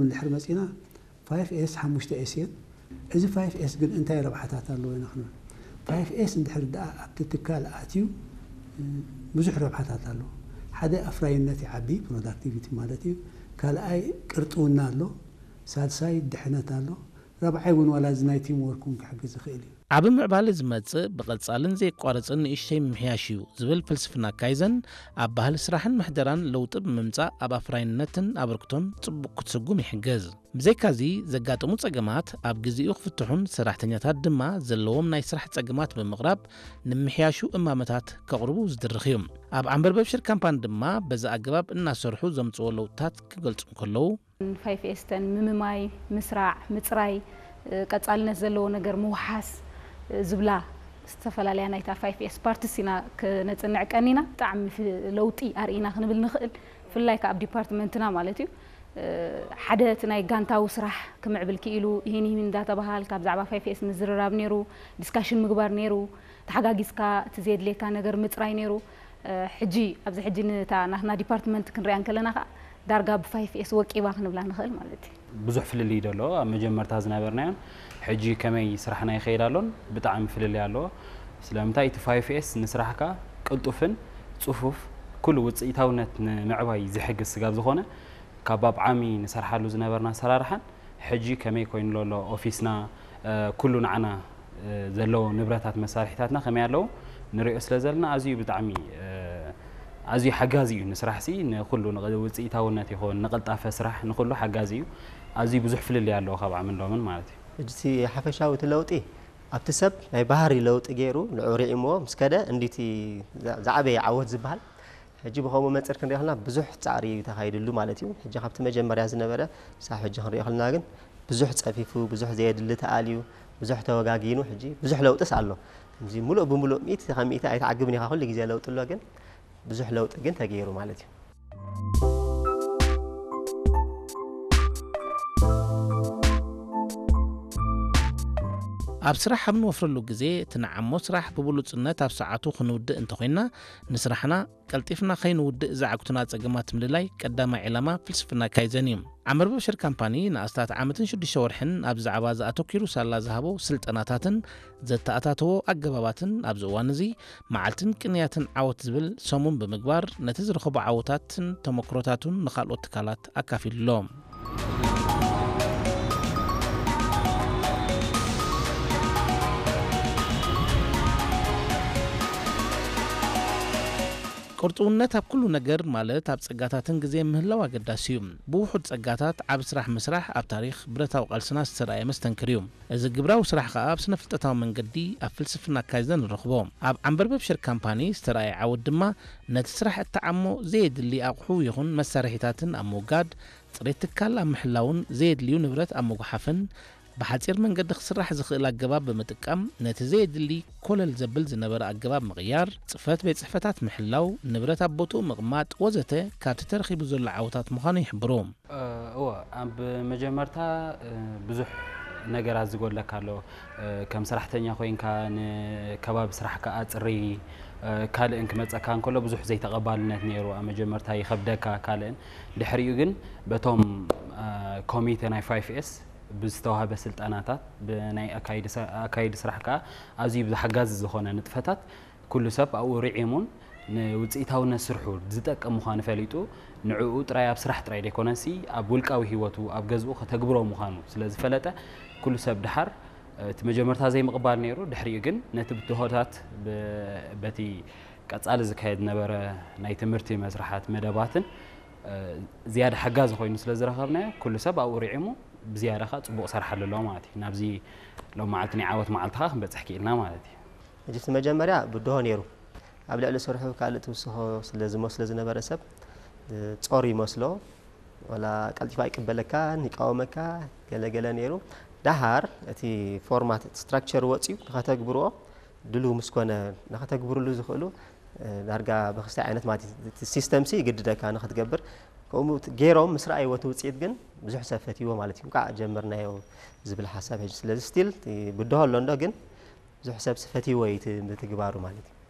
እንድሕር መፂና ፋይፍ ኤስ ሓሙሽተ ኤስ እየን። እዚ ፋይፍ ኤስ ግን እንታይ ረብሓታት ኣለዎ ኢና ክንብል፣ ፋይፍ ኤስ እንድሕር ደኣ ኣብቲ ትካል ኣትዩ ብዙሕ ረብሓታት ኣለዎ። ሓደ ኣፍራይነት ይዓቢ፣ ፕሮዳክቲቪቲ ማለት እዩ። ካልኣይ ቅርጥውና ኣሎ፣ ሳልሳይ ድሕነት ኣሎ፣ ራብዓይ እውን ዋላ እዚ ናይ ቲም ወርክ እውን ክሕግዝ ይኽእል እዩ። ዓቢ ምዕባለ ዝመጽእ ብቐጻልን ዘየቋርጽን ንእሽተይ ምምሕያሽ እዩ ዝብል ፍልስፍና ካይዘን፣ ኣብ ባህሊ ስራሕን ምሕደራን ለውጢ ብምምጻእ ኣብ ኣፍራይነትን ኣበርክቶን ጽቡቕ ክትስጉም ይሕግዝ። ብዘይካዚ፣ ዘጋጥሙ ጸገማት ኣብ ግዜኡ ክፍትሑን ሰራሕተኛታት ድማ ዘለዎም ናይ ስራሕ ጸገማት ብምቕራብ ንምሕያሹ እማመታት ከቕርቡ ዝድርኽ እዩ። ኣብ ዓምበርበብ ሽር ካምፓኒ ድማ በዚ ኣገባብ እናሰርሑ ዘምጽዎ ለውጥታት ክገልጹ እንከለዉ፣ ፋይፍ ኤስተን ምምማይ፣ ምስራዕ፣ ምፅራይ፣ ቀፃልነት ዘለዎ ነገር ምውሓስ ዝብላ ዝተፈላለያ ናይታ ፋይፍ ኤስ ፓርትስ ኢና ክነፅንዕ ቀኒና። ብጣዕሚ ለውጢ ኣርኢና ክንብል ንኽእል፣ ብፍላይ ከዓ ኣብ ዲፓርትመንትና ማለት እዩ። ሓደ እቲ ናይ ጋንታዊ ስራሕ ክምዕብል ክኢሉ፣ ይህን ይህን እንዳተባሃልካ ብዛዕባ ፋይፍ ኤስ ምዝርራብ ነይሩ፣ ዲስካሽን ምግባር ነይሩ፣ ተሓጋጊዝካ እቲ ዘየድልየካ ነገር ምፅራይ ነይሩ። ሕጂ ኣብዚ ሕጂ ንታ ናትና ዲፓርትመንት ክንሪኣ እንከለና ከዓ ዳርጋ ብፋይፍ ኤስ ወቂባ ክንብላ ንኽእል ማለት እዩ። ብዙሕ ፍልልይ ዶ ኣለዎ? ኣብ መጀመርታ ዝነበርናዮን ሕጂ ከመይ ስራሕና ይኸይድ ኣሎን ብጣዕሚ ፍልልይ ኣለዎ። ስለምንታይ እቲ ፋይፍ ኤስ ንስራሕካ ቅልጡፍን ጽፉፍ ኩሉ ውጽኢታውነት ንምዕባይ ዝሕግዝ ስጋብ ዝኾነ ካብ ኣብ ዓሚ ንሰርሓሉ ዝነበርና ኣሰራርሓን ሕጂ ከመይ ኮይኑ ኣሎ ኦፊስና ኩሉ ንዓና ዘለዎ ንብረታት መሳርሒታትና ከመይ ኣለዉ ንሪኦ ስለ ዘለና ኣዝዩ ብጣዕሚ ኣዝዩ ሓጋዚ እዩ ንስራሕ ሲ ንኩሉ ውፅኢታውነት ይኹን ንቅልጣፈ ስራሕ ንኩሉ ሓጋዚ እዩ ኣዝዩ ብዙሕ ፍልልይ ኣለዎ ካብ ዓምን ሎምን ማለት እዩ። ሕጂ እቲ ሓፈሻዊ እቲ ለውጢ ኣብቲ ሰብ ናይ ባህሪ ለውጢ ገይሩ ንዑ ሪዒምዎ ምስ ከደ እንዲቲ ዝዓበየ ዓወት ዝበሃል ሕጂ ብኸምኡ መንፅር ክንሪኦ ከለና ብዙሕ ፃዕሪ እዩ ተኻይድሉ ማለት እዩ። ሕጂ ካብቲ መጀመርያ ዝነበረ ክሳብ ሕጂ ክንሪኦ ከለና ግን ብዙሕ ፀፊፉ፣ ብዙሕ ዘየድሊ ተኣልዩ፣ ብዙሕ ተወጋጊኑ ሕጂ ብዙሕ ለውጥስ ኣሎ። እዚ ሙሉእ ብሙሉእ ሚእቲ ካብ ሚእቲ ኣይትዓግብን ኢኻ፣ ኩሉ ግዜ ለውጢ ኣሎ፣ ግን ብዙሕ ለውጢ ግን ተገይሩ ማለት እዩ። ኣብ ስራሕ ኣብ ንወፍረሉ ግዜ እቲ ንዓሞ ስራሕ ብብሉጽነት ኣብ ሰዓቱ ክንውድእ እንተኾይንና ንስራሕና ቀልጢፍና ከይንውድእ ዝዓግቱና ጸገማት ምልላይ ቀዳማይ ዕላማ ፍልስፍና ካይዘን እዩ። ዓመርበብ ሽር ካምፓኒ ንኣስታት ዓመትን ሽዱሽተ ወርሕን ኣብዚ ዛዕባ እዚ ኣተኲሩ ሳላ ዝሃቦ ስልጠናታትን ዘተኣታተዎ ኣገባባትን ኣብዚ እዋን እዚ መዓልትን ቅንያትን ዓወት ዝብል ሰሙን ብምግባር ነቲ ዝረኸቦ ዓወታትን ተመክሮታቱን ንኻልኦት ትካላት ኣካፊሉ ኣሎ። ቅርጥውነት ኣብ ኩሉ ነገር ማለት ኣብ ጸጋታትን ግዜ ምህላው ኣገዳሲ እዩ። ብውሑድ ጸጋታት ዓቢ ስራሕ ምስራሕ ኣብ ታሪኽ ብረታዊ ቃልስና ዝተራእየ መስተንክር እዩ። እዚ ግብራዊ ስራሕ ከኣ ኣብ ስነ-ፍልጠታዊ መንገዲ ኣብ ፍልስፍና ካይዘን ንረኽቦ። ኣብ ዓምበርበብ ሽር ካምፓኒ ዝተራእየ ዓወት ድማ ነቲ ስራሕ እተዓሞ ዘየድሊ ኣቕሑ ይኹን መሳርሒታትን ኣብ ምውጋድ፣ ጽሬት ትካል ኣብ ምሕላውን ዘየድልዩ ንብረት ኣብ ምጉሓፍን ብሓጺር መንገዲ ክስራሕ ዝኽእል ኣገባብ ብምጥቃም ነቲ ዘየድሊ ኮለል ዘብል ዝነበረ ኣገባብ ምቕያር፣ ጽፈት ቤት ጽሕፈታት ምሕላው፣ ንብረት ኣብ ቦትኡ ምቕማጥ ወዘተ ካብቲ ተረኺቡ ዘሎ ዓወታት ምዃኑ ይሕብሩ። እወ፣ ኣብ መጀመርታ ብዙሕ ነገራት ዝጎድለካ ኣሎ። ከም ሰራሕተኛ ኮይንካ ንከባቢ ስራሕካ ኣጽሪ ካልእን ክመጸካ እንከሎ ብዙሕ ዘይተቐባልነት ነይሩ። ኣብ መጀመርታ ይኸብደካ ካልእን ድሕሪኡ ግን በቶም ኮሚተ ናይ ፋይፍ ኤስ ብዝተዋህበ ስልጠናታት ብናይ ኣካይዲ ስራሕ ከዓ ኣዝዩ ብሓጋዚ ዝኾነ ንጥፈታት ኩሉ ሰብ ኣብኡ ርዒሙን ንውፅኢታውነት ስርሑ ዝጠቅም ምዃኑ ፈሊጡ ንዕኡ ጥራይ ኣብ ስራሕ ጥራይ ዘይኮነሲ ኣብ ውልቃዊ ህይወቱ ኣብ ገዝኡ ከተግብሮ ምዃኑ ስለ ዝፈለጠ ኩሉ ሰብ ድሓር እቲ መጀመርታ ዘይምቕባል ነይሩ ድሕሪኡ ግን ነቲ ብድሆታት በቲ ቀፃሊ ዝካየድ ነበረ ናይ ትምህርቲ መስርሓት መደባትን ዝያዳ ሓጋዚ ኮይኑ ስለ ዝረኸብናዮ ኩሉ ሰብ ኣብኡ ርዒሙ ብዝያዳ ከዓ ፅቡቕ ሰርሓሉ ኣሎ ማለት እዩ ናብዚ ሎም መዓልቲ ናይ ዓወት መዓልቲ ከዓ ክንበፅሕ ክኢልና ማለት እዩ ሕጂ እቲ መጀመርያ ብድሆ ነይሩ ኣብ ልዕሊ ስርሑ ካልእ ትውስኾ ስለ ዝመስሎ ዝነበረ ሰብ ጾር ይመስሎ ዋላ ቀልጢፉ ኣይቅበለካን ይቃወመካ ገለገለ ነይሩ ደሓር እቲ ፎርማት ስትራክቸር ወፅዩ ንኸተግብርዎ ድልው ምስ ኮነ ንኸተግብርሉ ዝኽእሉ ዳርጋ ብክስታይ ዓይነት ማለት እቲ ሲስተም ሲ ይግድደካ ንኽትገብር ከምኡ ገይሮም ምስ ረኣይዎ እቲ ውፅኢት ግን ብዙሕ ሰብ ፈትይዎ ማለት እዩ እንኳዕ ጀመርናዮ ዝብል ሓሳብ ሕጂ ስለዚ ስቲል ብድሆ ኣሎ እንዶ ግን ብዙሕ ሰብ ፈትይዎ እዩ እቲ ምትግባሩ ማለት እዩ።